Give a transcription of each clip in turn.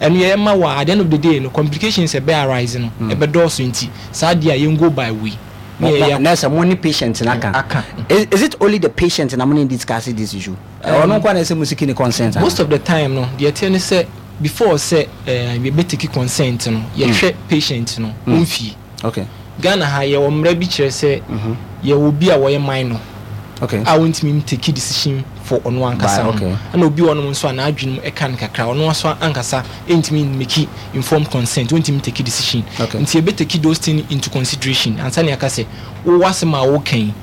Ɛno yɛyɛ ma wo a, at the end of the day no, complications a ɛbɛ arise no, ɛbɛdɔɔso nti, saa adeɛ a yɛn go by wei. Na yɛyɛ. Na sɛ mo ne patient no aka. Aka. Is, is it only the patient na mo ne no discuss this issue? Ɔno nko ara na ɛsɛ mo seek ne consent anaa? Most of the time no, deɛ ɛteɛ ne sɛ, before sɛ yɛbɛ take consent no, yɛhwɛ patient no, ɔmfie. Okay. Ghana ha yɛwɔ mmara bi kyerɛ sɛ yɛwɔ obi a wɔyɛ minor okay. a ɔntumi ntake decision for ɔno ankasa ho. Ɛna obi wɔ hɔnom nso a n'adwene mu ɛka no kakra, ɔno nso ankasa ntumi mmake informed consent, ɔntumi ntake decision. Okay. Nti yɛbɛtake those things into consideration ansa na yɛaka sɛ wo w'asɛm a woka yi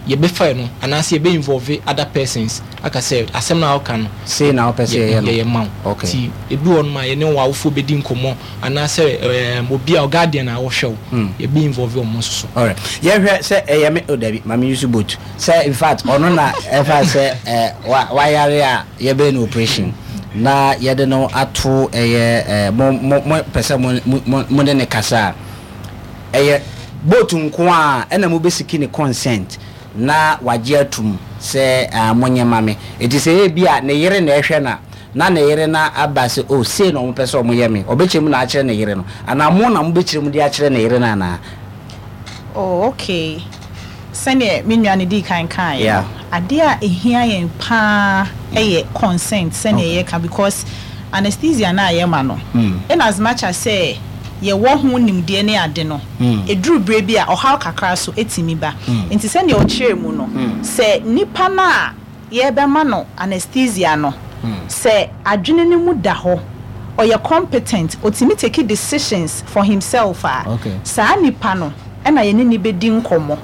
yɛbɛfa no anaasɛ yɛbɛ involve other persons aka sɛ asɛm no a woka no sei na wopɛ sɛ yɛyɛ no yɛyɛ ma wo. Okay. Nti ebi wɔ hɔnom a yɛne w'awofoɔ bɛdi nkɔmmɔ Anaasɛ ɛɛm obi a guardian a ɔhwɛ wo, yɛbɛ involve wɔn nso so. Alright, yɛnhwɛ sɛ ɛyɛ me, oh dabi, ma me use boat. Sɛ in fact ɔno na ɛfa sɛ ɛ wa wayare a yɛbɛyɛ no operation na yɛde no ato ɛyɛ ɛ mo mo mo pɛ sɛ mo mo mo ne no kasa a, ɛyɛ boat nko ara ɛna mo bɛ siki ne consent na wagye atum sɛ ah monyɛ ma me. Enti sɛ ebia ne yere na ɛhwɛ no a, na ne yere no aba sɛ oh sei na wɔpɛ sɛ wɔyɛ me, ɔbɛkyerɛ mu na akyerɛ ne yere no anaa mo na mobɛkyerɛ mu de akyerɛ ne yere no anaa? Oh okay, sɛdeɛ me nua no dii kan kaeɛ no, adeɛ a ɛhia yɛn pa ara yɛ consent sɛdeɛ yɛka because anesthesia no a yɛma no, in as much as sɛ yɛwɔ ho nimdeɛ ne ade no, ɛduru berɛ bi a ɔhaw kakra nso tumi ba. Nti sɛdeɛ ɔkyerɛɛ mu no, sɛ nipa no a yɛrebɛma no anesthesia no, sɛ adwene no mu da hɔ, ɔyɛ competent, ɔtumi take decisions for himself a, saa nipa no na yɛne no bɛdi nkɔmmɔ.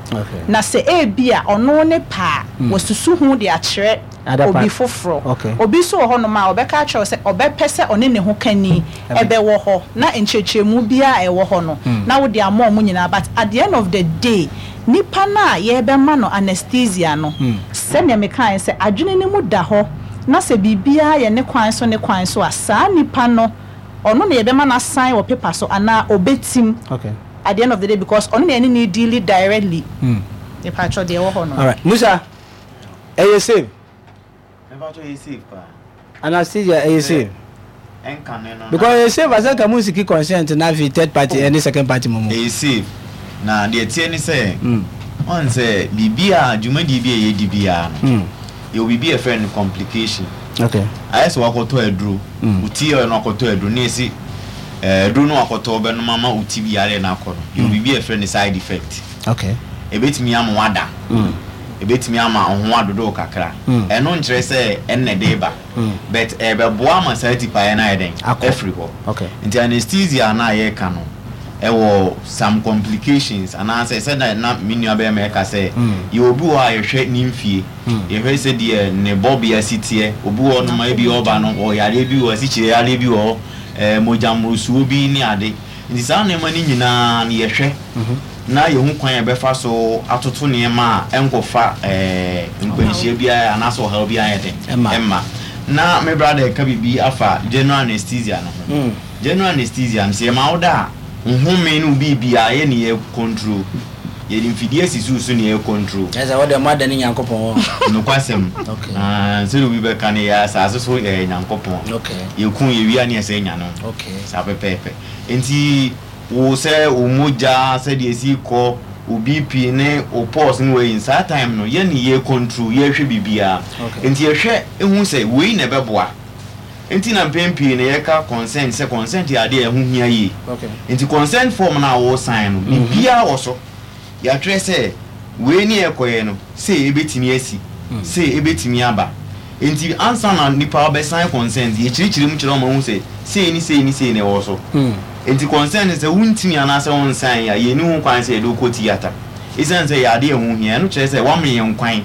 Na sɛ ebia ɔno ne pɛ a, wasusu ho de akyerɛ obi foforɔ. Obi nso wɔ hɔnom a, ɔbɛka akyerɛ wo sɛ ɔbɛpɛ sɛ ɔne ne hokani bɛwɔ hɔ na nkyerɛkyerɛmu biara a ɛwɔ hɔ no, na wode ama wɔn nyinaa. But at the end of the day, nipa no a yɛrebɛma no anesthesia no, sɛdeɛ mekaeɛ sɛ adwene no mu da hɔ na sɛ biribiara yɛ ne kwan so ne kwan so a, saa nipa no, ɔno na yɛbɛma no asan wɔ paper so anaa ɔbɛtim at the end of the day because ɔno na yɛne no redeali directly. Mepakyɛw, deɛ ɛwɔ hɔ no. Alright, Musa, ɛyɛ same. Mepakyɛw, ɛyɛ safe paa. Anastasia ɛyɛ save. Ɛnkane no na. Because ɛyɛ save asɛ nka mo nsiki consent na afei third party ɛne second party mo mo. Ɛyɛ save na deɛ ɛteɛ ne sɛ woahu sɛ biribi a dwumadie bi a yɛdi biara no yɛwɔ biribi a yɛfrɛ no complication. Okay. Ayɛ sɛ wakɔtɔ aduro wo ti yɛ no akɔtɔ aduro na yɛsi aduro no wakɔtɔ wobɛnom ama wo ti yareɛ no akɔ no yɛwɔ biribi a yɛfrɛ no side effect. Okay. Ɛbɛtumi ama wada. Ɛbɛtumi ama wo ho adodo wo kakra. Ɛno nkyerɛ sɛ ɛno na ɛde reba, but ɛrebɛboa ama saa tipaeɛ no ayɛ dɛn? Afiri hɔ. Nti anesthesia no a yɛreka no, ɛwɔ some complications anaasɛ sɛdeɛ na me nua barima reka sɛ, yɛwɔ obi wɔ hɔ a yɛhwɛ ne mfie, yɛhwɛ sɛdeɛ ne bɔbea si teɛ, obi wɔ hɔnom a ebi ɔba no ɔwɔ yareɛ bi wɔ hɔ, asikyire yareɛ bi wɔ hɔ, mogya mmorosoɔ bi ne ade. Nti saa nneɛma no nyinaa no yɛhwɛ na yɛhu kwan a yɛbɛfa so atoto nneɛma a ɛnkɔfa nkwanhyia biara anaasɛ ɔhaw biara nyɛ dɛn mma. Na me brada reka biribi afa general anesthesia no ho. General anesthesia no, sɛ yɛma wo da a, wo home ne wo biribiara yɛ ne yɛ control. Yɛde mfidie asisi wo so ne yɛ control. Kyerɛ sɛ wo deɛ moadane Nyankopɔn hɔ. Nokwasɛm. Sɛdeɛ obi bɛka no, yɛyɛ asase so yɛyɛ Nyankopɔn. Yɛku, yɛwie a ne yɛsan nya no. Saa pɛpɛɛpɛ. Enti wo sɛ wo mogya sɛdeɛ ɛsi kɔ, wo BP ne wo pulse ne wei, saa time no yɛne yɛ control, yɛhwɛ biribiara. Enti yɛhwɛ hu sɛ wei na ɛbɛboa. Enti na mpɛn pii no yɛka consent sɛ consent yɛ adeɛ a ɛho hia yie. Enti consent form no a wo sign no, biribiara wɔ so. Yɛatwerɛ sɛ wei ne ɛrekɔyɛ no, sei ɛbɛtumi asi, sei ɛbɛtumi aba. Enti ansa na nipa bɛsan consent, yɛkyerɛkyerɛ mu kyerɛ wɔn ma wɔhu sɛ sei ne sei ne sei na ɛwɔ so. Enti consent no sɛ wontumi anaasɛ wonsan a, yɛnni ho kwan sɛ yɛde wo kɔ theatre. Ɛsiane sɛ ɛyɛ adeɛ a ɛho hia, ɛno kyerɛ sɛ woama yɛn kwan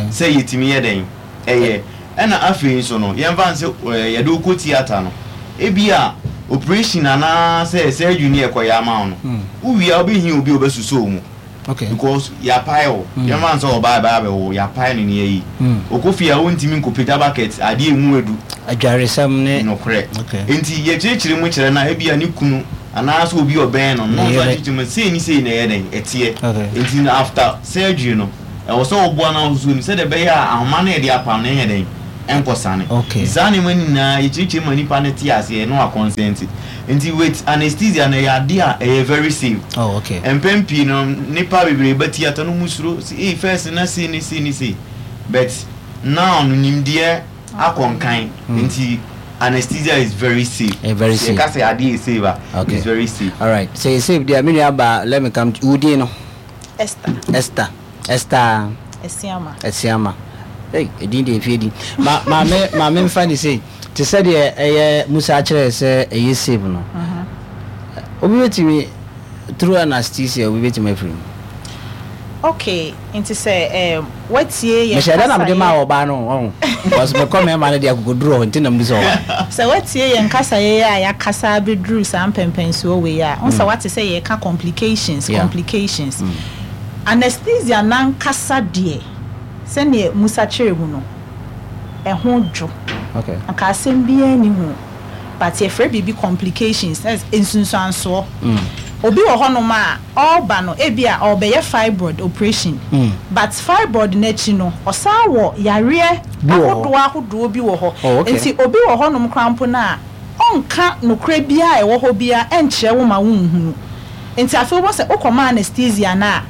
sɛ yɛtumi yɛ dɛn? Ɛyɛ. Ɛna afei nso no, yɛmfa no sɛ yɛde wo kɔ theatre no, ebia operation anaasɛ surgery ne yɛkɔyɛ ama wo no, wowie a wobɛhia obi a ɔbɛsosɔ wo mu. Because yɛapae wo. Yɛmfa no sɛ ɔbaa ɛbaa abɛwo wo, yɛapae no ne yɛayi. Ɔkɔ fie a wontumi nkɔpagya bucket, adeɛ a ɛmu adu. Adwaresɛm ne. Nokorɛ. Enti yɛkyerɛkyerɛ mu kyerɛ no a, ebia ne kunu anaasɛ obi a ɔbɛn no no, na ɔno nso akyerɛkyerɛ mu sei ne sei na ɛyɛ dɛn? Ɛteɛ. Enti no after surgery no, Ɛwɔ sɛ woboa no ahosuo no sɛdeɛ ɛbɛyɛ a ahoma no a yɛde apam no nyɛ dɛn? ɛnkɔsane. Nti saa nneɛma no nyinaa yɛkyerɛkyerɛ mu ma nipa no te aseɛ na wa consent. Nti with anesthesia no ɛyɛ adeɛ a ɛyɛ very safe. Mpɛn pii no nnipa bebree ba theatre no wɔn suro sɛ ei first na sei ne sei ne sei but now no nimdeɛ akɔ nkan nti anesthesia is very safe. Ɛyɛ very Sɛ safe. yɛka sɛ adeɛ yɛ safe a it's very safe. Alright sɛ ɛyɛ safe deɛ a me nua baa let me come to wo din no? Esther. Esther Esther. Asiama. Asiama. Ei, edin deɛ efie din. Ma maame maame nfa ne sei. Te sɛ deɛ ɛyɛ Musa akyerɛ sɛ ɛyɛ safe no. Obi betumi through anesthesia obi betumi afiri mu. Okay, nti sɛ um, watie yɛn Mehyɛ da na mede kasayɛ. maa ɔbaa no ɔho. Because mekɔ mmarima no deɛ akokoduru hɔ nti na mebisa ɔbaa. Sɛ woatie yɛn kasaeɛ yi a yɛakasa abɛduru saa mpɛnpɛnsoɔ wei a, wohu sɛ woate sɛ yɛreka complications, complications. Anesthesia no ankasa deɛ, sɛdeɛ Musa kyerɛɛ mu no, ɛho dwo. Anka asɛm biara nni ho. But yɛfrɛ biribi complications, that is nsunsuansoɔ. Obi wɔ hɔnom a, ɔreba no, ebia ɔrebɛyɛ fibroid operation, but fibroid no akyi no, ɔsan wɔ yareɛ ahodoɔ ahodoɔ bi wɔ hɔ. Nti obi wɔ hɔnom koraa mpo no a, ɔnka nokorɛ biara a ɛwɔ hɔ biara nkyerɛ wo ma wonhunu. Nti afei wobɛhu sɛ wokɔma anesthesia no a,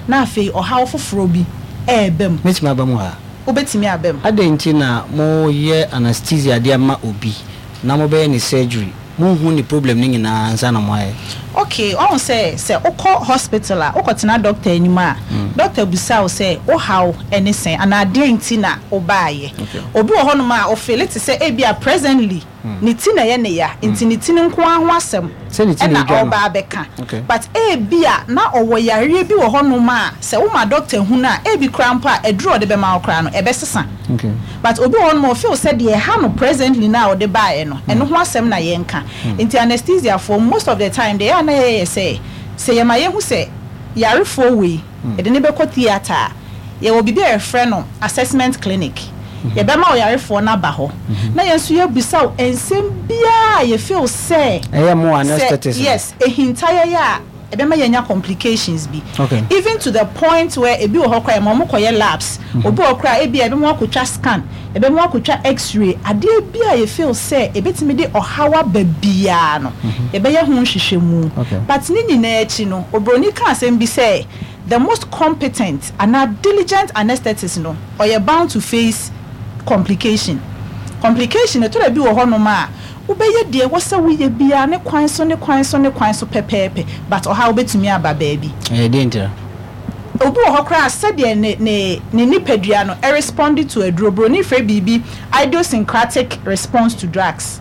na afei ɔhaw foforɔ bi reba mu. Mɛtumi aba mu ha? Wobɛtumi aba mu. Adɛn nti na moyɛ anesthesia de ama obi na mobɛyɛ no surgery Monhu ne problem no nyinaa ansa na moayɛ. Okay, wahu sɛ sɛ wokɔ hospital a, wokɔtena doctor anim a, doctor bisa wo sɛ wo haw ne sɛn anaa deɛn nti na wobaeɛ. Obi wɔ hɔnom a, ofeele te sɛ ebia presently ne ti na ɛyɛ ne ya, nti ne ti no nko ara ho asɛm na ɔreba abɛka. But ebia na ɔwɔ yareɛ bi wɔ hɔnom a, sɛ woma doctor hunu a, ebi koraa mpo a, aduro a ɔde bɛma wo koraa no, ɛbɛsesa. But obi wɔ hɔnom a ɔfeel sɛ deɛ ɛha no presently no a ɔde baeɛ no, ɛno ho asɛm na yɛnka. Nti anesthesia foɔ most of the time deɛ ɛyɛ a na yɛyɛ yɛ sɛ, sɛ yɛma yɛhu sɛ yarefoɔ wei yɛde no bɛkɔ theatre a, yɛwɔ biribi a yɛfrɛ no assessment clinic. Yɛbɛma ɔyarefoɔ no aba hɔ na yɛn nso yɛabisa wo nsɛm biara a yɛ feel sɛ Ɛyɛ mo sɛ anesthetist no? yes, ɛhinta yɛn a, ɛbɛma yɛanya complications bi even to the point where ebi wɔ hɔ koraa yɛma wɔn kɔyɛ labs, obi wɔ hɔ koraa ebia yɛbɛma wakɔtwa scan, yɛbɛma wakɔtwa x-ray, adeɛ bi a yɛ feel sɛ ɛbɛtumi de ɔhaw aba biara no yɛbɛyɛ ho nhwehwɛmu. But ne nyinaa akyi no obroni ka asɛm bi sɛ the most competent anaa diligent anesthetist no ɔyɛ bound to face complication. Complication ɛtɔ da bi wɔ hɔnom a Wobɛyɛ deɛ ɛwɔ sɛ woyɛ biara ne kwan so ne kwan so ne kwan so pɛpɛɛpɛ but ɔhaw bɛtumi aba baabi. Ɛyɛ deɛn ntira? Obi wɔ hɔ koraa a sɛdeɛ ne ne ne nipadua no respond to aduro, broni frɛ biribi idiosyncratic response to drugs.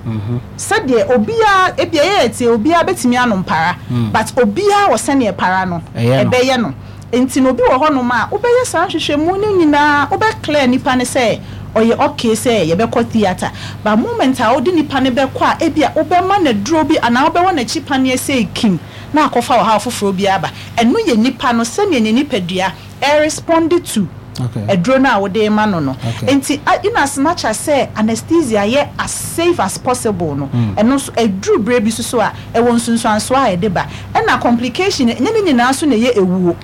Sɛdeɛ obiara, ebia yɛyɛ tie obiara bɛtumi anom para but obiara wɔ sɛdeɛ para no ɛbɛyɛ no. Nti no obi wɔ hɔ nom a wobɛyɛ saa nhwehwɛmu no nyinaa wobɛ clear nipa no sɛ ɔyɛ okay sɛ yɛbɛkɔ theatre but moment a wode nipa no bɛkɔ a ebia wobɛma no aduro bi anaa wobɛwɔ no akyi paneɛ sei kim na akɔfa ɔhaw foforɔ bi aba ɛno yɛ nipa no sɛdeɛ ne nipadua ɛresponde to aduro no a wode rema no no. Nti in as much as sɛ anesthesia yɛ as safe as possible no, ɛno nso ɛduru berɛ bi nso so a, ɛwɔ nsunsuansoɔ a ɛde ba. Ɛna complication no, ɛnyɛ ne nyinaa nso na ɛyɛ ɛwuo.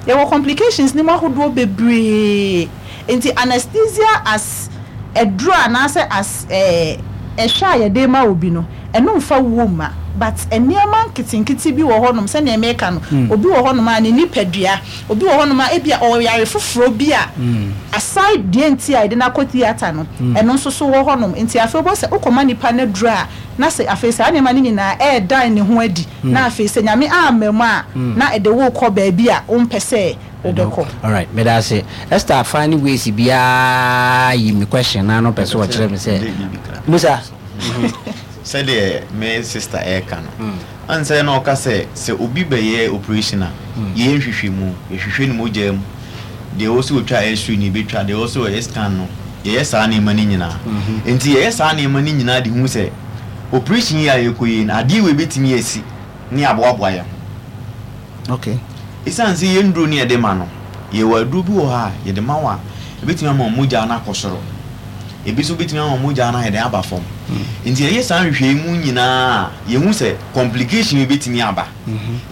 Yɛwɔ complications no mu ahodoɔ bebree. Nti anesthesia as aduro anaasɛ as ɛhwɛ a yɛde rema obi no, ɛno mfa wuo mma. But nneɛma nketenkete bi wɔ hɔnom, sɛdeɛ mereka no, obi wɔ hɔnom a ne nipadua, Obi wɔ hɔnom a ebia ɔwɔ yare foforɔ bi a aside deɛ nti a yɛde no akɔ theatre no, ɛno nso so wɔ hɔnom. Nti afei wobɛhu sɛ wokɔma nipa no aduro a, na sɛ afei saa nneɛma no nyinaa ɛredan ne ho adi, na afei sɛ Nyame amma mu a, na ɛde wo rekɔ baabi a wompɛ sɛ wobɛkɔ. Alright, meda ase. Esther find ways biara yi me question no ano pɛ sɛ ɔkyerɛ me sɛ Musa. Sɛdeɛ me sister ɛreka no, Ansa na ɔka sɛ, sɛ obi bɛyɛ oprehyɛn a, yɛyɛ nhwehwɛmu, yɛhwehwɛ ne mogya mu, deɛ ɛwɔ sɛ wɔtwa x-ray no yɛbɛtwa, deɛ ɛwɔ sɛ wɔyɛ scan no, yɛyɛ saa nneɛma no nyinaa. Enti yɛyɛ saa nneɛma no nyinaa de hu sɛ oprehyɛn yi a yɛrekɔyɛ yi no, adeɛ wei bɛtumi asi ne yɛaboaboa yɛn ho. Okay. Esiane sɛ yɛn nnuro no yɛde ma no, yɛwɔ aduro bi wɔ hɔ a yɛde ma wo a, ɛbɛtumi ama wo mogya no akɔ soro. Ebi nso bɛtumi ama mogya no ayɛ dɛn aba fam. Nti yɛyɛ saa nhwehwɛmu nyinaa a, yɛhu sɛ complication bi bɛtumi aba.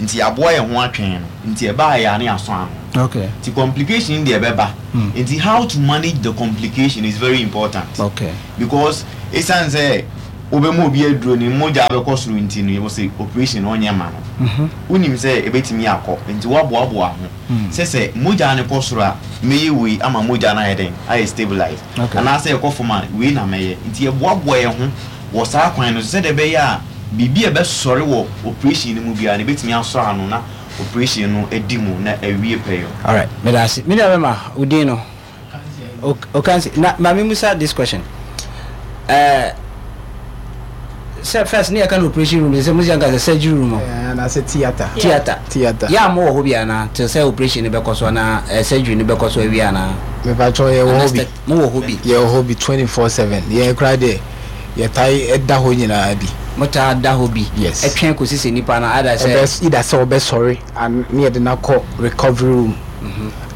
Nti yɛaboa yɛn ho atwɛn no. Nti ɛbaeɛ a na yɛasɔ ano. Okay. Nti complication deɛ ɛbɛba. Nti how to manage the complication is very important. Okay. Because ɛsiane sɛ wobɛma obi aduro ne mogya bɛkɔ soro nti no yɛwɔ sɛ operation no ɔnyɛ ma no. Wonim sɛ ɛbɛtumi akɔ nti woaboaboa ho sɛ sɛ mogya no kɔ soro a mɛyɛ wei ama mogya no ayɛ dɛn ayɛ stabilize anaasɛ ɛkɔ fam a wei na mɛyɛ nti yɛboaboa yɛn ho wɔ saa kwan no so sɛdeɛ ɛbɛyɛ a biribi a ɛbɛsɔre wɔ operation no mu biara no ɛbɛtumi asɔ ano na operation no adi mu na awie pɛyɔ. Alright, meda ase. Me nua bɛma, wo din no? Okansi. Na ma me musa this question. Eh, sɛ first ne yɛka no operation room, sɛ musi anka sɛ surgery room. Eh, na sɛ theater. Theater. Theater. Yɛ a mo wɔ hɔ bi ana till sɛ operation no bɛkɔ so ana eh, surgery no bɛkɔ so awie ana? Mepakyɛw yɛ wɔ hɔ bi. Mo wɔ hɔ bi. Yɛ wɔ hɔ bi 24/7. Yɛn koraa deɛ yɛtae da hɔ nyinaa bi. Mo taa da hɔ bi. Yes. Ɛtwɛn kɔsi sɛ nipa no either sɛ. Ɛbɛ either sɛ ɔbɛsɔre and ne yɛde no akɔ recovery room.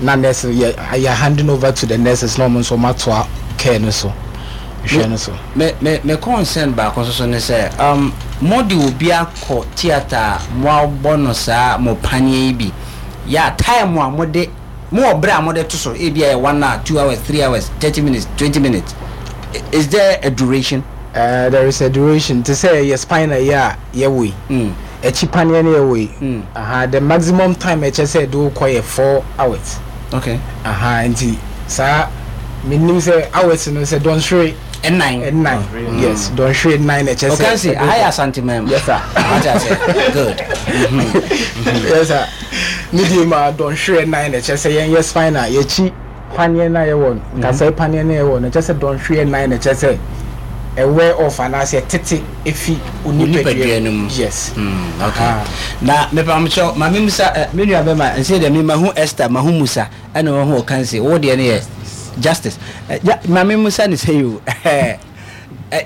Na nurse yɛ yɛ handing over to the nurses na wɔn nso wɔn atoa care no so hwɛ no so. Me me me concern baako nso so ne sɛ um mo de obi akɔ theatre a mo abɔ no saa mo paneɛ yi bi yɛ a time a mo de mo wɔ berɛ a mo de to so ebi a yɛ one hour two hours three hours 30 minutes 20 minutes is there a duration? There is a duration te sɛ yɛ spinal yi a yɛwɔ yi. Mm. Akyi paneɛ no yɛwɔ yi. Mm. Aha, the maximum time ɛkyɛ sɛ ɛde wo kɔ yɛ 4 hours. Okay. Aha, nti saa menim sɛ hours no sɛ dɔnhwere Ɛnan. ɛnan. Yes, dɔnhwere 4 na ɛkyɛ sɛ. Okansi, aha yɛ Asanteman mu. Yes sir. Wate ase? Good. Yes sir. Ne deɛ mu a dɔnhwere 4 na ɛkyɛ sɛ yɛn yɛ spinal yɛkyi paneɛ no a yɛwɔ no nkasɛe paneɛ no a yɛwɔ no ɛkyɛ sɛ dɔnhwere 4 na ɛkyɛ sɛ ɛwear off anaasɛ ɛtete efi Onipadua no mu. Yes. Okay. Aha. Na mepamokyɛw ma memmisa eh, me nua bɛma nsɛ deɛ me mahu Esther, mahu Musa, ɛna wahu Okansi, wo deɛ no yɛ Justice. Eh, ja, ma memmisa no sɛ yi o, eh,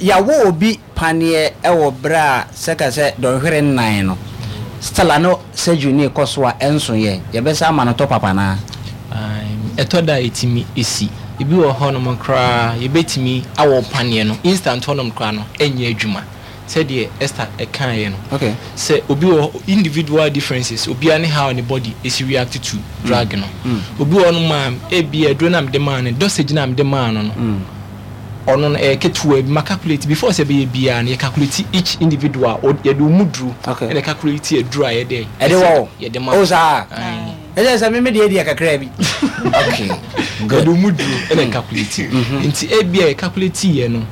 yɛawo obi paneɛ wɔ berɛ a sɛ ka sɛ dɔnhwere 4 no, still a no surgery no rekɔ so a ɛnso yɛ, yɛbɛsa ama no top up anaa? Ɛtɔ da a ɛtumi si. Ebi wɔ hɔnom koraa yɛbɛtumi awɔ paneɛ no instant hɔnom koraa no ɛnyɛ adwuma sɛdeɛ Esther ɛkaeɛ no. Okay. Sɛ obi wɔ hɔ individual differences, obiara ne how ne body ɛsi react to drug no. Obi wɔ hɔnom a ebia aduro no a mede maa no, dosage no a mede maa no no, ɔno no ɛyɛ ketewa bi, ma calculate before sɛ ɛbɛyɛ biara no yɛ calculate each individual, yɛde wo mu duro ɛna calculate aduro a yɛde Ɛde wɔ wo? yɛde ma Oh saa? Aye. Ɛsɛ sɛ me me deɛ kakra bi. Okay. Good. Yɛde wo mu duro ɛna calculate. Nti ebia yɛ calculate yɛ no,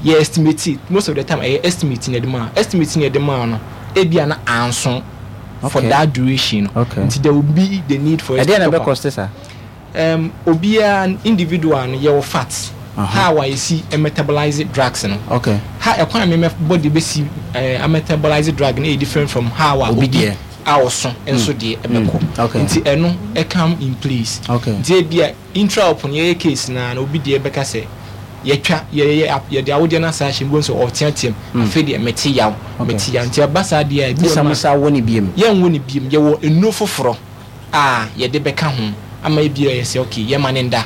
yɛ estimate, most of the time ɛyɛ estimate na yɛde ma. Estimate na yɛde ma no, ebia na anso for that duration no. Okay. Nti there will be the need for us Ɛdeɛ na to top ɛbɛ up. cost saa? Obiara individual no yɛwɔ fat. How a yɛsi metabolize drugs no. Okay. Ha ɛkwan a me body bɛsi metabolize drug no yɛ different from how a Obi obi deɛ. a ɔso nso deɛ ɛbɛkɔ. Okay. Nti ɛno ɛcome in place. Okay. Nti ebia intra op no yɛyɛ case naa na obi deɛ bɛka sɛ yɛtwa yɛyɛ yɛde awodeɛ no asa ahyɛ mu sɛ ɔteateam afei deɛ mete yaw mete yaw nti ɛba saa deɛ a ebi wɔ Sɛ hɔ mo a sa wo ne biem. yɛnwo ne biem, yɛwɔ nnuro foforɔ a yɛde bɛka ho ama ebia yɛ sɛ okay yɛma ne nda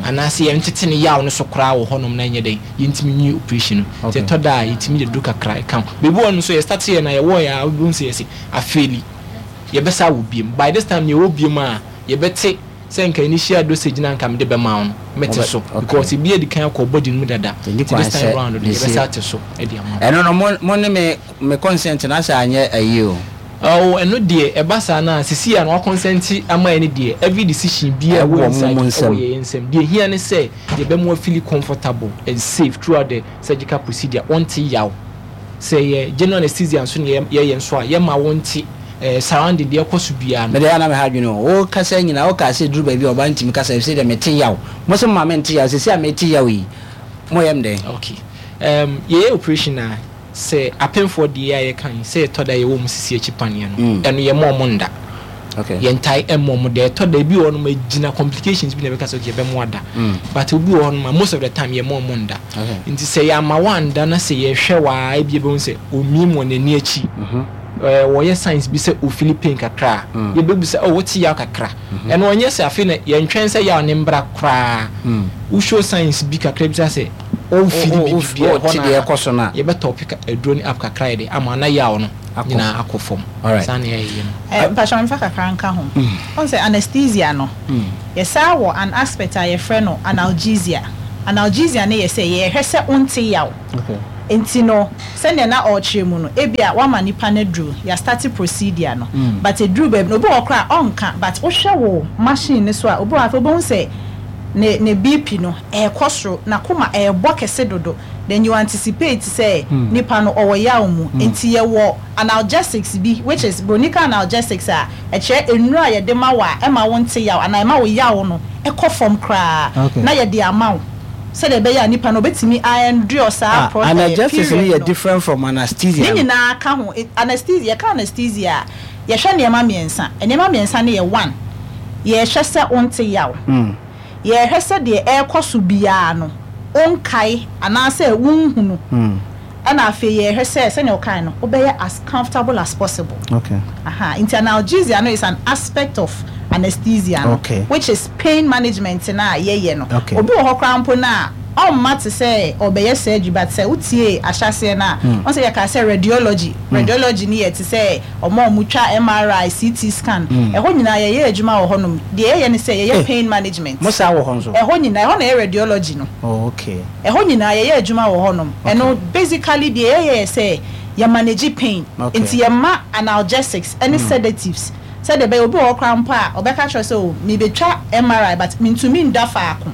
anaasɛ yɛntete ne yaw no so koraa wɔ hɔnom na ɛnyɛ dɛn yɛntumi nwie operation no. Nti ɛtɔ da a yɛtumi de duro kakra ɛka ho. Baabi wɔ hɔ no nso yɛ start yɛ na yɛwɔ yɛ a wobɛhu sɛ yɛse afeeli yɛbɛsa wɔ biem. By this time yɛwɔ biem a yɛbɛte sɛ nka initial dosage na nka mede bɛma wo no mɛte so because ebi adi kan akɔ body no mu dada. Nti this time round no yɛbɛsa ate so de ama wo. Ɛno no mo ne me consent no asɛ anyɛ ayi o. Oh ɛno deɛ ɛba saa no a sisi a na wakɔnsɛnte ama yɛn no deɛ every decision biara ɛwɔ Ɛwɔ mo inside mo ɛwɔ nsam. yɛn nsam. Deɛ ɛhia ne sɛ yɛbɛma wa feeli comfortable and safe throughout the surgical procedure, wonte yaw. Sɛ ɛyɛ general anesthesia nso na yɛyɛ nso a yɛma wonte eh, surrounding deɛ ɛkɔ so biara no. Me deɛ ɛyɛ a na me ha adwene o. Wo kasa nyinaa wo kaa sɛ ɛduru baabi a ɔbaa ntumi kasa ɛfisɛ deɛ mete yaw. Mo se mo ma mente yaw sɛsi a mete yaw yi mo yɛ me dɛn? Okay um, yɛyɛ operation a Sɛ apemfoɔ deɛ a yɛka yi, sɛ ɛtɔ da yɛwɔ wɔn sisi akyi paneɛ no, ɛno yɛmma wɔn nda. Yɛntae mma wɔn da. Ɛtɔ da ebi wɔ hɔnom a ɛgyina complications bi na ɛbɛka sɛ okay yɛbɛma wada. But obi wɔ hɔnom a most of the time yɛmma wɔn nda. Nti sɛ yɛamma wanda na sɛ yɛhwɛ wo ara ebi yɛbɛhu sɛ ɔmim wɔ n'ani akyi, wɔyɛ signs bi sɛ ɔfili pain kakra a, yɛbɛbisa oh wote yaw kakra. Ɛno ɔnyɛ sɛ afei na yɛntwɛn sɛ yaw no mbra koraa. Wo show signs bi kakra bi sɛ Ɔmfiri biribi biara Wote hɔ deɛ no ɛkɔ so no a. yɛbɛtɔpe aduro no up kakra yɛde ama na yaw no. nyinaa akɔ fam. Saa na yɛyɛ no. Eh, mpakyɛw memfa kakra nka ho. Wohu sɛ anesthesia no, yɛsan wɔ an aspect a yɛfrɛ no analgesia. Analgesia no yɛ sɛ yɛhwɛ sɛ wonte yaw. Nti no, sɛnea na ɔrekyerɛ mu no, ebia woama nipa no aduru, yɛastarte procedure no, but ɛduru baabi no, obi wɔ hɔ koraa a ɔnka, but wohwɛ wo machine no so a, obi wɔ hɔ a afei wobɛhu sɛ ne ne BP no ɛrekɔ soro, n'akoma ɛrebɔ kɛse dodo, then you anticipate sɛ nipa no ɔwɔ yaw mu. Nti yɛwɔ analgesics bi which is broni ka analgesics a ɛkyerɛ nnuro a yɛde ma wo a ɛma wo nte yaw anaa ɛma wo yaw no kɔ fam koraa na yɛde ama wo sɛdeɛ ɛbɛyɛ a nipa no ɔbɛtumi a endure saa Ah, pro eh, analgesics no period yɛ no. different from Ne anesthesia no. nyinaa ka ho. Anesthesia, yɛka anesthesia a, yɛhwɛ nneɛma mmiɛnsa. Nneɛma mmiɛnsa no yɛ one, yɛhwɛ sɛ wonte yaw. Yɛhwɛ sɛ deɛ ɛrekɔ so biara no, wonkae anaasɛ wonhunu. Ɛna afei yɛhwɛ sɛ, sɛnea ɔkae no, wobɛyɛ as comfortable as possible. Aha, nti analgesia no is an aspect of anesthesia no, which is pain management no a yɛyɛ no. Obi wɔ hɔ koraa mpo no a, ɔmma te sɛ ɔrebɛyɛ surgery but sɛ wotiee ahyɛaseɛ no a, wohu sɛ yɛkaa sɛ radiology. Radiology no yɛ te sɛ wɔn a wɔtwa MRI, CT scan, ɛhɔ nyinaa yɛyɛ adwuma wɔ hɔnom. Deɛ yɛyɛ ne sɛ yɛyɛ pain management. Mo saa wɔ hɔ nso? Ɛhɔ nyinaa, ɛhɔ na ɛyɛ radiology no. Oh okay. Ɛhɔ nyinaa yɛyɛ adwuma wɔ hɔnom. Ɛno basically deɛ yɛyɛ yɛ sɛ yɛ manage pain. Nti yɛma analgesics ne sedatives sɛdeɛ ɛbɛyɛ obi wɔ hɔ koraa mpo a ɔbɛka akyerɛ wo sɛ oh merebɛtwa MRI but mentumi nda faako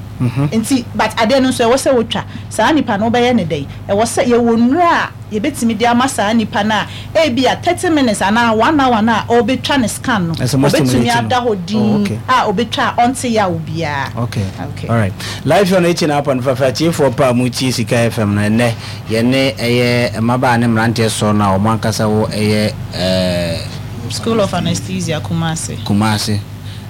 nti but adeɛ no nso ɛwɔ sɛ wotwa. Saa nipa no wobɛyɛ no dɛn? Ɛwɔ sɛ yɛwɔ nnuro a yɛbɛtumi de ama saa nipa no a ebia thirty minutes anaa one hour no a ɔrebɛtwa ne scan no, Ɛsɛ mo ɔbɛtumi stimulate no. ada hɔ Oh, dinn okay. a ɔbɛtwa a ɔnte yaw biara. Okay. Okay. All right. Live on 89.5 atiefoɔ pa a motie Sika FM no ɛnnɛ yɛne ɛyɛ mmabaa ne mmeranteɛ sɔɔ no a wɔn ankasa wɔ ɛyɛ ɛɛ School of Anesthesia, Kumasi. Kumasi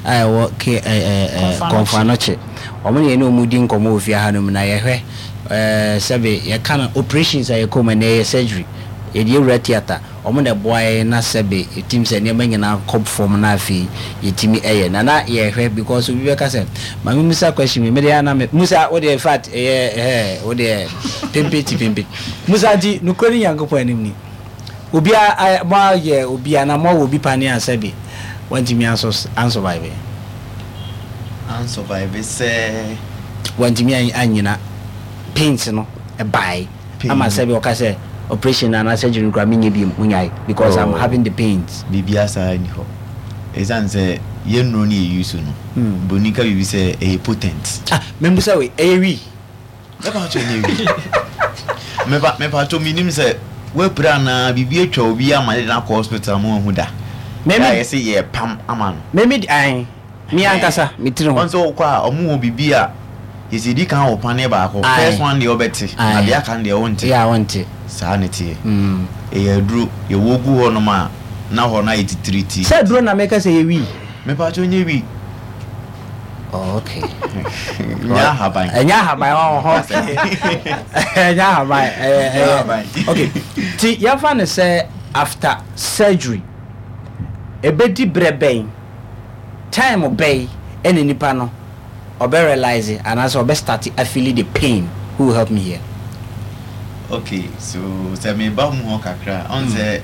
a ɛwɔ K ɛɛ ɛɛ Komfo Komfo Anokye. Anokye. Wɔn ne yɛne wɔn redi nkɔmmɔ wɔ fie hanom na yɛhwɛ ɛɛ sɛbe yɛka no operations a yɛkɔ mu ɛnnɛ yɛyɛ surgery, yɛde awura theatre, wɔn na ɛboa yɛn na sɛbe yɛtim sɛ nneɛma nyinaa kɔ fam na afei yɛtumi yɛ. Na na yɛhwɛ because obi bɛka sɛ ma me musa question bi, me deɛ na me musa wo deɛ in fact ɛyɛ ɛhɛ wo deɛ pempe ti pempe. Musa nti nokorɛ ne Nyankopɔn anim ni, obi a mo ayɛ obi anaa mo awɔ obi paneɛ a sɛbe wantumi anso ansurvive? Ansurvive sɛ. Wantumi annyina pains no bae ama sɛbe ɔka sɛ operation no anaa surgery no koraa menyɛ biom monyae because I'm having the pains. Biribiara saa nni hɔ. Ɛsiane sɛ yɛn nnuro no yɛ use no, broni ka biribi sɛ ɛyɛ potent. Ah, membusa wei, ɛyɛ wii? Mɛpakyɛw nyɛ wi. Mepa mepatwɔ menim sɛ wapira anaa biribi atwa obi ama yɛde no akɔ hospital ma wahu da. Meme A yɛse yɛpam ama no. Meme de ae me ankasa me tiri ho. Wɔn sɛ wokɔ a ɔmo wɔ biribi a yɛsi di kan wɔ paneɛ baako. First one deɛ wobɛte na deɛ aka no deɛ wonte. Yeah wonte. Saa na ɛteɛ. Ɛyɛ aduro yɛwɔ gu hɔ nom a na hɔ no ayɛ titiritii. Sɛ aduro na meka sɛ ɛyɛ wii. Mepatwɔ nyɛ wii. Oh, okay. Nyɛ ahaban. Ɛnyɛ ahaban ɔhɔ. Ɛnyɛ ahaban. Ɛyɛ ahaban. Okay. Ti yɛfa no sɛ after surgery ebedi brɛ bɛn time bɛn ɛna nipa no ɔbɛ realize anaasɛ ɔbɛ start afeeli the pain. Who will help me here? Okay, so sɛ meba mu hɔ kakra a, ɔn sɛ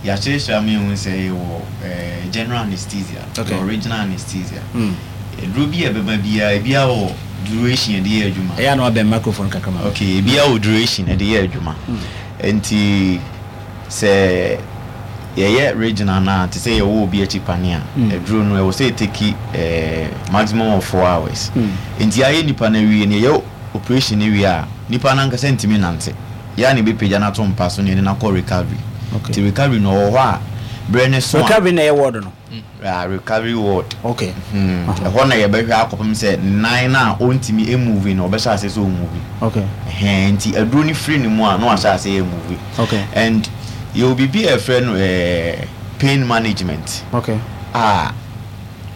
yɛakyerɛkyerɛ ama yɛahu sɛ yɛwɔ eh, general anesthesia, okay. yɛwɔ regional anesthesia. Mm. Aduro bi a ɛbɛba biara, ebiara wɔ duration yɛde yɛ adwuma. Ɛyɛ a na wabɛn microphone kakra ma. Okay, ebiara wɔ duration yɛde yɛ adwuma. Mm. Nti sɛ yɛyɛ regional no a, te sɛ yɛwɔ obi akyi pane a, mm. aduro no ɛwɔ sɛ ɛteki eh, maximum of 4 hours. Nti ayɛ nipa no awie no, yɛyɛ operation no wie a, nipa no ankasa ntumi nnante. Yɛ a na yɛbɛpagya no ato mpa so na yɛde no akɔ recovery. Nti recovery no ɔwɔ hɔ a, berɛ no so a. Recovery na ɛyɛ ward no? Yeah, recovery ward. Okay. Hmm. Ɛhɔ na yɛbɛhwɛ akɔpem sɛ nan no a ɔntumi move no, ɔbɛhyɛ aseɛ sɛ ɔmove. Okay. Ɛhɛn, nti aduro no firi ne mu a, na wahyɛ aseɛ yɛ move. Okay. And yɛwɔ biribi a yɛfrɛ no eh, pain management. Okay. A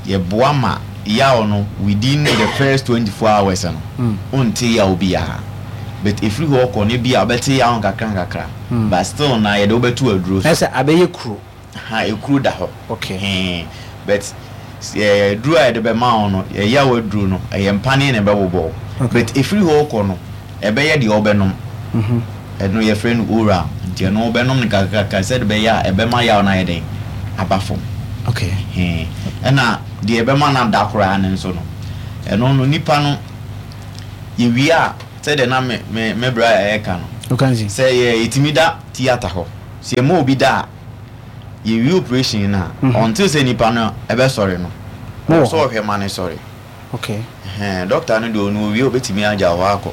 Yɛboa ma yaw no within the first 24 hours no wonte yaw biara but ɛfiri hɔ kɔ no ebia wobɛte yaw nkakra nkakra but still na yɛde wo bɛto aduro so. Ɛsɛ abɛyɛ kuro. Ha ekuro da hɔ. Okay. Hee but aduro a yɛde bɛma wo no yaw aduro no ɛyɛ mpaneɛ na ɛbɛbobɔ wo but ɛfiri hɔ kɔ no ɛbɛyɛ deɛ wobɛnom ɛno yɛfrɛ no oral. Nti ɛno wobɛnom no kakrakakra sɛde ɛbɛyɛ a ɛbɛma yaw no ayɛ dɛn? Aba fam. Okay. Ɛhɛn. Ɛna deɛ ɛbɛma no ada koraa no nso no, ɛno no nipa no yɛwie a, sɛdeɛ na me me me bra ɛreka no, sɛ yɛ yɛtumi da theatre hɔ, sɛ yɛma obi da a, yɛwie operation no a, until sɛ nipa no ɛbɛsɔre no, ɛwɔ sɛ ɔhwɛ ma no sɔre. Okay. Ɛhɛn, doctor no deɛ ɔno owie a obetumi agya hɔ akɔ.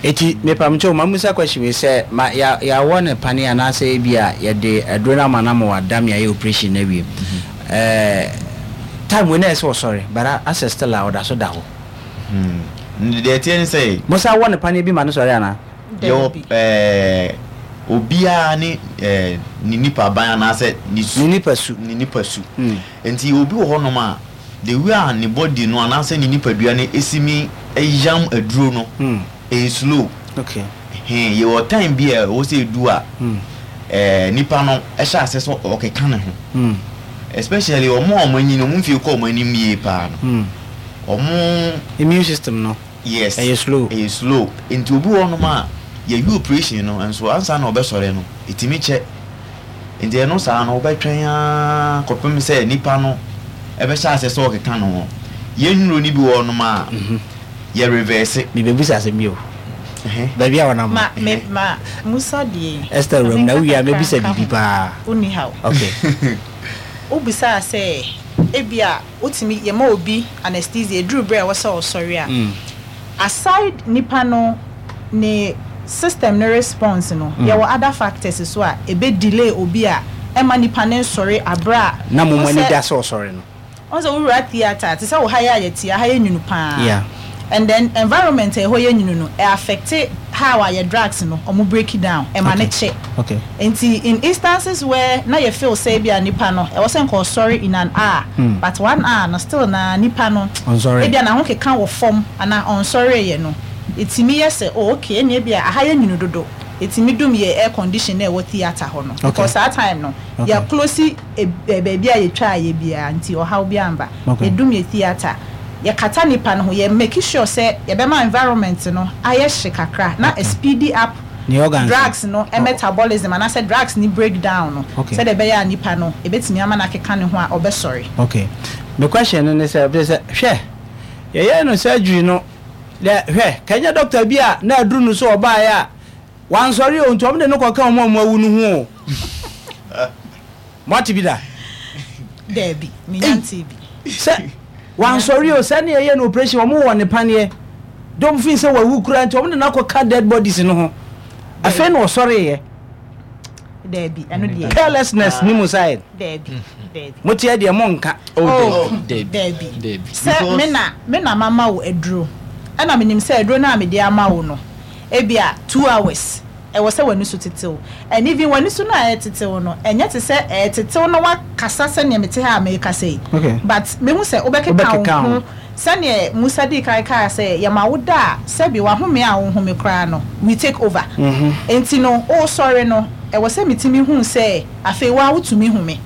Eti mepamkyɛw ma musa question wei sɛ ma ya yawɔ no pane anaasɛ ebia yɛde aduro no ama no ama wada me ayɛ operation no awie ɛɛ time wei na ɛsɛ ɔsɔre but asɛ still a ɔda so da hɔ. Hmm, deɛ ɛteɛ ne sɛ. Mo san wɔ no paneɛ bi ma no sɔre anaa? Yɛwɔ ɛɛ obiara ne ɛɛ ne nipa ban anaasɛ ne su. Ne nipa su. Ne nipa su. Nti obi wɔ hɔnom a. The way a ne body no anaasɛ ne nipadua no si mi yam aduro no, ɛyɛ slow. Okay. Ɛhɛn, yɛwɔ time bi a ɛwɔ sɛ ɛdu a, ɛɛ nipa no hyɛ aseɛ sɛ ɔkeka ne ho. Especially wɔn a wɔn anyin, wɔn mfie kɔ wɔn anim yie paa no, wɔn. Immune system no. Yes. Ɛyɛ slow. Ɛyɛ slow. Nti obi wɔ hɔnom a, yɛyi operation no nso ansa na ɔbɛsɔre no, ɛtumi kyɛ. Nti ɛno saa no wobɛtwɛn ara kɔpem sɛ nipa no bɛhyɛ aseɛ sɛ ɔkeka ne ho. Yɛn nnuro no bi wɔ hɔnom a, yɛ reverse. Mebɛbisa asɛm bi o. Baabi a wɔnam no. Ma me ma Musa deɛ. Esther wuram na wowie a mɛbisa biribi paa. Wonni haw. Okay. Wobisaa sɛ ebia wotumi yɛma obi anesthesia ɛduru berɛ a ɛwɔ sɛ ɔsɔre a. Aside nipa no ne system no response no, yɛwɔ other factors nso a ɛbɛ delay obi a ɛmma nipa no nsɔre aberɛ a. Na mo ani da sɛ ɔsɔre no. Wohu sɛ wowura theatre a, te sɛ wo ha yi a yɛte yi, aha yɛ nwunu paa. And then environment a ɛhɔ yɛ nwunu no, ɛ affect how a yɛ drugs no, ɔmo break down, ɛma no kyɛ. Nti in instances where na yɛ feel sɛ ebia nipa no ɛwɔ sɛ nka ɔsɔre in an hour but one hour no still naa nipa no ebia n'ahokeka wɔ fam anaa ɔnsɔreeɛ no ɛtumi yɛ sɛ oh okay ɛnneɛ ebia aha yɛ nwunu dodo ɛtumi dum yɛ air condition no a ɛwɔ theatre hɔ no because saa time no yɛ close baabi a yɛtwaa yɛ biara nti ɔhaw biara mba yɛdum yɛ theatre yɛkata nipa no ho yɛ make sure sɛ yɛbɛma environment no ayɛ hye kakra na speedy up Ne organs no. Drugs no metabolism anaasɛ drugs no break down no sɛdeɛ ɛbɛyɛ a nipa no ɛbɛtumi ama no akeka ne ho a ɔbɛsɔre. Ok. Me question no ne sɛ, sɛ hwɛ yɛyɛɛ no surgery no dɛ hwɛ kɛnyɛ doctor bi a na aduru no so ɔbaeɛ a wansɔre o nti wɔn de no kɔka wɔn a wɔn awu no ho o. Moate bi da? Daabi, menya ntee bi. Sɛ wansɔre o, sɛ ne yɛyɛ no operation, wɔn wɔ ne paneɛ. Dɔm fi sɛ wawu koraa nti wɔn de no akɔka dead bodies no ho. Afei na ɔsɔreeɛ. Daabi, ɛno deɛ. Carelessness ni mo side. Daabi, daabi. Mo teɛ deɛ mo nka. Oh, daabi. Sɛ me na me na mama wo aduro, ɛna menim sɛ aduro no a mede ama wo no, ebia 2 hours. Ɛwɔ sɛ w'ani so tetew. And even w'ani so no a ɛretetew no, ɛnyɛ te sɛ ɛretetew na woakasa sɛdeɛ mete ha a merekasa yi. But mehu sɛ wobɛkeka wo ho. Sɛdeɛ Musa dii kan kaa sɛ, yɛma wo da a, sɛbe w'ahome a wohome koraa no, we take over. Enti no, woresɔre no, ɛwɔ sɛ metumi hu sɛ afei wo ara wotumi home.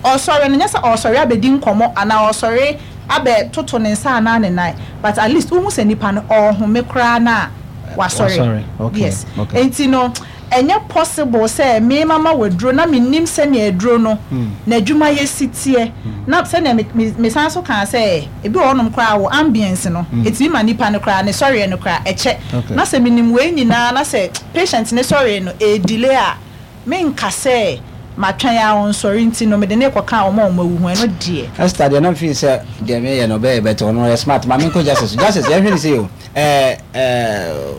Ɔresɔre no, nyɛ sɛ ɔresɔre abɛdi nkɔmmɔ anaa ɔresɔre abɛtoto ne nsa anaa ne nan, but at least wohu sɛ nipa no, ɔrehome koraa no a, wasɔre yes nti no ɛnyɛ possible sɛ me mama wo aduro na me nim sɛnea aduro no n'adwuma yɛ si teɛ na sɛnea me me me san so kaa sɛ ebi wɔ hɔnom koraa wo ambience no etumi ma nipa no koraa ne sɔreɛ no koraa ɛkyɛ na sɛ me nim wei nyinaa na sɛ patient ne sɔreɛ no ɛdelay a. Menka sɛ matwɛn ara ɔnsɔre nti no mede no rekɔka wɔn a wɔawu ho, ɛno deɛ. Esther deɛ na me feel sɛ deɛ me yɛ no ɔbɛyɛ but ɔno ɔyɛ smart ma me nkɔ justice so justice yɛn hwɛ ne sei o ɛɛ ɛɛ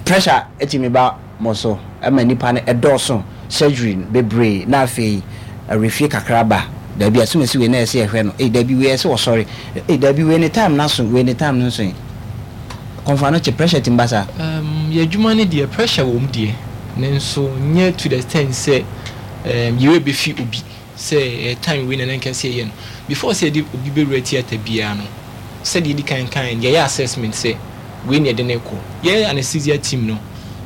pressure ɛtumi ba mo so ɛma nipa no ɛdɔɔso surgery no bebree na afei awerɛfie kakra ba dabi asumasi wei na ɛsɛ yɛhwɛ no ei dabi wei ɛsɛ ɔsɔre ei dabi wei ne time no aso wei ne time no nso kɔnfa no kye pressure tumi ba saa. Erm yɛ adwuma no deɛ pressure wɔ mu deɛ nanso nyɛ to the extent sɛ erm yɛ werɛ bɛfi obi sɛ ɛyɛ time wei na na nka ɛsɛ yɛyɛ no. Before sɛ yɛde obi bɛwura theatre biara no sɛdeɛ yɛdi kan kaeɛ no yɛyɛ assessment sɛ wei na yɛde no rekɔ. Yɛ anesthesia team no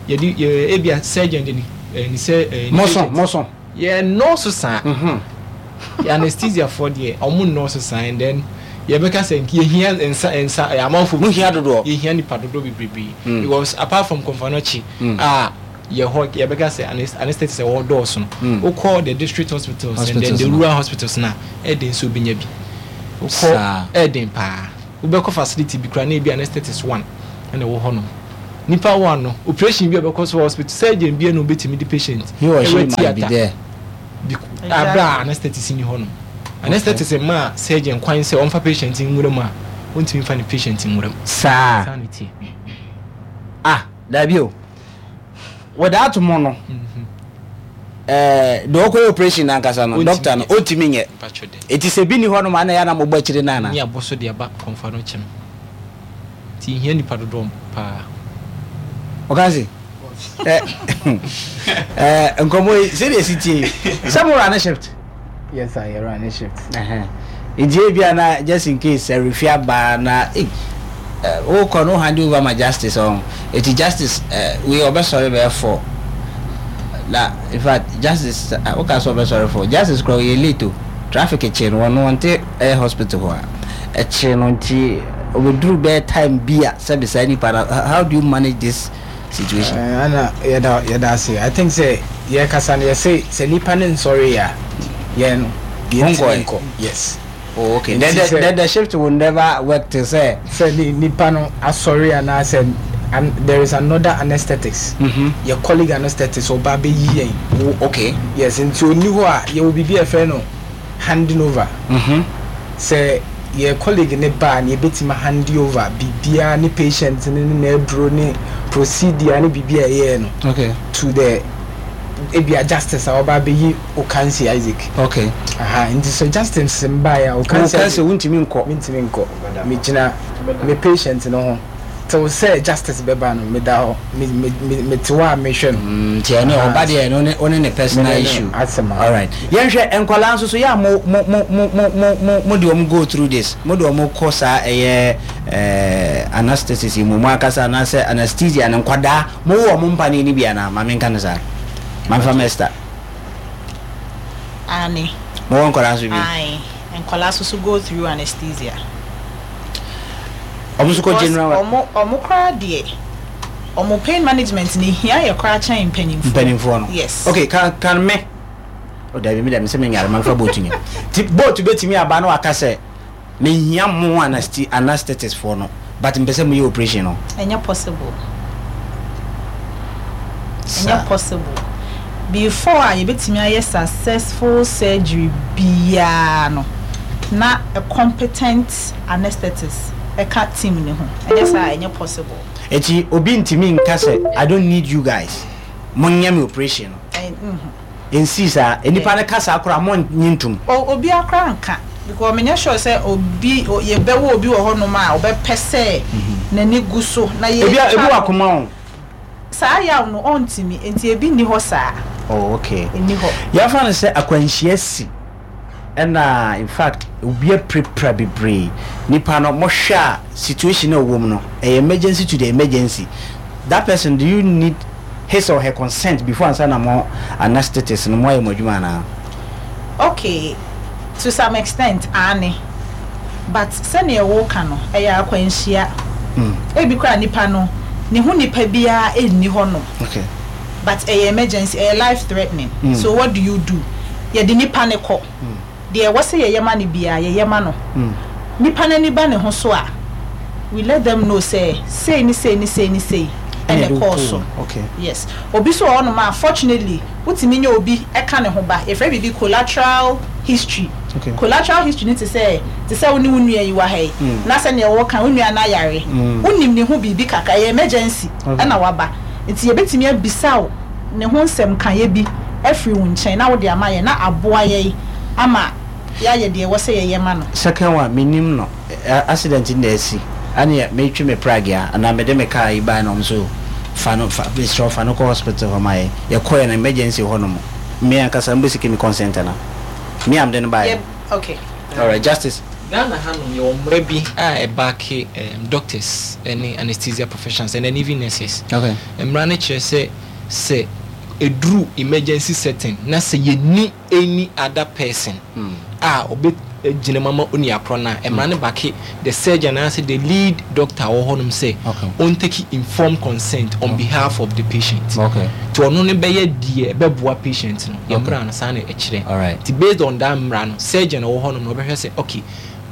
yɛde yɛ ebia surgeon de ne ne sɛ ne Moso patient. moso. Yɛ nnɔɔso saa. Yɛ anesthesia foɔ deɛ ɔmo nnɔɔso saa and then yɛ bɛka sɛ nka yɛhia nsa nsa amanfoɔ Mo hia dodoɔ. Yɛhia nipa dodoɔ bebrebee because apart from Komfo-Anokye a. yɛ hɔ yɛbɛka sɛ anesthetist ɛwɔ hɔ dɔɔso no. Wokɔ the district hospitals and then the rural hospitals no a, ɛyɛ den sɛ wobɛnya bi. Wokɔ ɛyɛ den paa. Wobɛkɔ facility bi koraa na ebi anesthetist one ɛna ɛwɔ hɔ nom. Nipa one no, operation bi a ɛbɛkɔ so wɔ hospital, surgeon bi na obetumi de patient ɛwɔ theatre bi abere a anesthetist ni hɔ nom. Anesthetist mmaa surgeon kwan sɛ ɔmfa patient nwura mu a, ontumi mfa ne patient nwura mu. Saa. Saa na ɛteɛ. Ah, daabi o. Without mo no, ɛɛ deɛ ɔkɔyɛ operation no ankasa no, doctor no, ɔntumi nyɛ. Eti sɛ bi ni hɔ nom a na ɛyɛ a na mobɔ akyire no anaa? Ne abɔ so de aba kɔmfa no kyɛ no. Nti yɛhia nipa dodoɔ paa. Ɔka se, ɛ ɛ nkɔmɔ yi sɛdeɛ esi tie yi, sɛ mo run shift? Yes sir, yɛ run shift. Nti ebia na just in case sɛ refi aba na ei wokɔ no hand over ma justice ɔn eti justice wei ɔbɛsɔre bɛyɛ 4 na in fact justice woka sɛ ɔbɛsɔre 4 justice kora ɔyɛ late o traffic kye no ɔno ɔnte ɛyɛ hospital hɔ a ɛkye no nti ɔbɛduru bɛyɛ time bi a sɛbe saa nipa no how do you manage this situation. Eh, ana yɛda yɛda ase. I think sɛ yɛkasa no yɛse sɛ nipa no nsɔre a yɛn no yɛntumi nkɔ. Yes. Oh, okay. Then the, then the shift will never work till sɛ. Sɛ ni nipa no asɔre anaasɛ an, there is another anesthetics. Mm -hmm. Yɛ colleague anesthetics ɔba abɛyi yɛn. Oh, okay. Yes, nti ɔnni hɔ a yɛwɔ biribi a yɛfrɛ no handing over. Mm -hmm. Sɛ yɛ colleague no ba a na yɛbɛtumi a hande over biribiara ne patient no ne n'aduro ne procedure ne biribi a ɛyɛɛ no okay. to the ebia justice a ɔba abɛyi Okansi Isaac. Okay. Aha, nti sɛ justice mbaeɛ a Okansi Isaac. Wontumi nkɔ. Mentumi nkɔ. Megyina me patient no ho. Till sɛ justice bɛba no meda hɔ me me me mete hɔ a mehwɛ no. Mm, nti ɛno ɔba deɛ ɛno ne ɔne ne personal issue. Asɛm a. Alright. Yɛnhwɛ nkwadaa nso so yɛ a mo mo mo mo mo mo mo mo de wɔn go through this. Mo de wɔn kɔ saa ɛyɛ ɛɛ anaesthesis yi mu mo ankasa anaasɛ anesthesia no nkwadaa mo wɔ wɔn mpaneɛ no bi anaa? Maame nka no saa. Maame fa Esther. Aane. Mo wɔ nkwadaa nso bi? Ae, nkwadaa nso so go through anesthesia. Ɔmo nso kɔ general. Because ɔmo ɔmo koraa deɛ ɔmo pain management no ehia yɛ koraa kyɛn mpanyinfoɔ. Mpanyinfoɔ no. Yes. Okay, kan kan me. O dabi mi dɛ mi sɛ mi nyare ma nfa boat nyɛ. Ti boat betumi aba na waka sɛ me hia mo anasti anesthetist foɔ no but mpɛ sɛ mo yɛ operation no. Ɛnyɛ possible. Ɛnyɛ possible. Before a yɛbɛtumi ayɛ successful surgery biara no na a competent anesthetist ka team no ho, ɛnyɛ saa a ɛnyɛ possible. Enti obi ntumi nka sɛ I don't need you guys, monyɛ me operation no. Ɛnsii saa. Nnipa no ka saa koraa a monnye ntom. Obiara koraa nka because menyɛ sure sɛ obi yɛbɛwɔ obi wɔ hɔnom a ɔbɛpɛ sɛ n'ani gu so na Ebi yɛtwa ebi wɔ no. akoma o. Saa yaw no ɔntumi, enti ebi nni hɔ saa. Oh okay. Ɛnni hɔ. Yɛmfa no sɛ akwanhyia si. Ɛna in fact obi apirapira bebree nipa no mo hwɛ a situation a ɔwɔ mu no ɛyɛ emergency to the emergency that person do you need his or her consent before ansa na mo anesthetist no mo ayɛ mo adwuma anaa? Okay to some extent aane but sɛdeɛ woka no ɛyɛ akwanhyia ebi koraa nipa no ne ho nipa biara nni hɔ nom. Okay. But ɛyɛ emergency, ɛyɛ life threatening, so what do you do? Yɛde nipa no kɔ, deɛ ɛwɔ sɛ yɛyɛ ma no biara yɛyɛ ma no. Nipa no ani ba ne ho so a, we let them know sɛ sei ne sei ne sei ne sei ɛna ɛkɔɔ so. Yes. Obi nso wɔ hɔnom a, fortunately, wotumi nya obi ka ne ho ba. Yɛfrɛ biribi collateral history. Collateral history no te sɛ, te sɛ wo ne wo nua yi wɔ ha yi, na sɛdeɛ woka, wo nua no ayare, wonim ne ho biribi kakra, ɛyɛ emergency ɛna waba. Nti yɛbɛtumi abisa wo ne ho nsɛm kaeɛ bi afiri wo nkyɛn na wode ama yɛn na aboa yɛn ama yɛayɛ deɛ ɛwɔ sɛ yɛyɛ ma no. Second one, mennim no, accident no na asi, ɛneɛ metwe me pragea anaa mede me car yi baeɛ na wɔn nso fa no, fa, mesrɛ wo fa no kɔ hospital hɔ ma yɛn. Yɛkɔeɛ no emergency hɔ nom, me ankasa mobɛsiki me consent anaa? Me a mede no baeɛ Yɛ, no. okay. Alright, Justice. Ghana hanom yɛwɔ mmara bi a ɛbaake doctors ne anesthesia professionals and then even nurses. Okay. Mmara no kyerɛ sɛ sɛ ɛduru emergency setting na sɛ yɛnni any other person a ɔbɛ. agyina mu ama onua korɔ no a, mmara no backe the surgeon anaasɛ the lead doctor a ɔwɔ hɔnom sɛ ɔntake informed consent on behalf of the patient. Nti ɔno no bɛyɛ deɛ ɛbɛboa patient no. Yɛn mmara no saa na ɛkyerɛ. Nti based on that mmara no, surgeon a ɔwɔ hɔnom no ɔbɛhwɛ sɛ okay,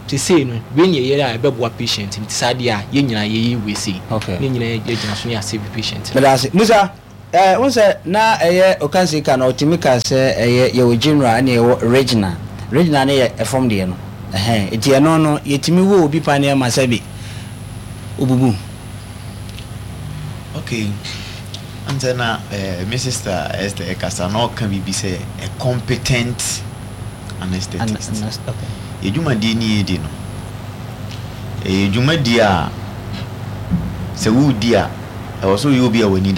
seesei no wei na yɛyɛ a ɛbɛboa patient no, nti saa deɛ a yɛn nyinaa yɛyɛ wei sei. Na yɛn nyinaa yɛgyina so na yɛasave patient no. Meda ase. Musa, Eh, wohu sɛ na ɛyɛ Okansi ka no, ɔtumi ka sɛ ɛyɛ yɛwɔ general ɛna yɛwɔ regional. Regional no yɛ ɛfam deɛ no. Ɛhɛn, nti ɛno no yɛtumi wɔ obi paneɛ ma sɛbi obubu. Okay, wohu sɛ na eh, me sister Esther ɛkasa na ɔka biribi sɛ a competent anesthetist. An, okay. Yɛ dwumadie ni yɛdi no, ɛyɛ dwumadie a sɛ woredi a, ɛwɔ sɛ woyɛ obi a w'ani da.